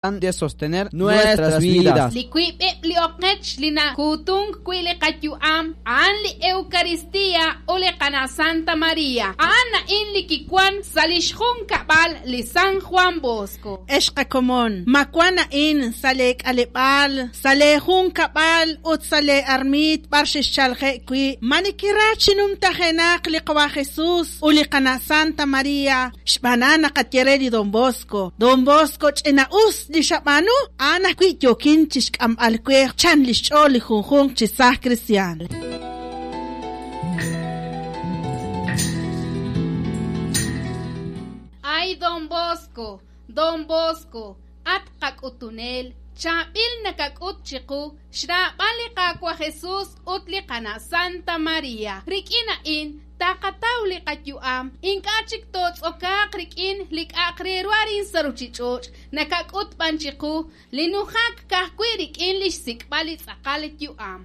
De sostener nuestras vidas. Li wiib'eb' li oqech li nakuutunk wi' li qayu'am a'an li Eucaristía ut li Qana' Santa María. A'an a'in li kiwan sa' li xjunkab'al li San Juan Bosco. Ex qakomon, ma wan a'in sa' leek'aleb'aal, sa' leejunkab'al ut sa' leearmiit b'ar xexchalje' wi'? Ma nekera chi numtajenaq li Qawa' Jesús ut li Qana' Santa María? Xb'aan a'an naqaye re li Don Bosco, Don Bosco ch'ina'us li xab'aanu, a'an ajwi' yookin chi xk'amb'al we chan li xch'ool li junjunq chi saaj kristiaan. Ay Don Bosco, Don Bosco, at qak'utunel, chaab'il nakak'ut chiqu xraab'al li Qaawa' Jesus ut li Qana' Santa María. Rik'in a'in taqataw li qayu'am, ink'a' chik tootz'okaaq rik'in li k'a'aq re ru arin sa' ruuchich'och', nakak'ut b'an chiqu li nujak ka'ajwi' rik'in li xsik'b'al li tz'aqal yu'am.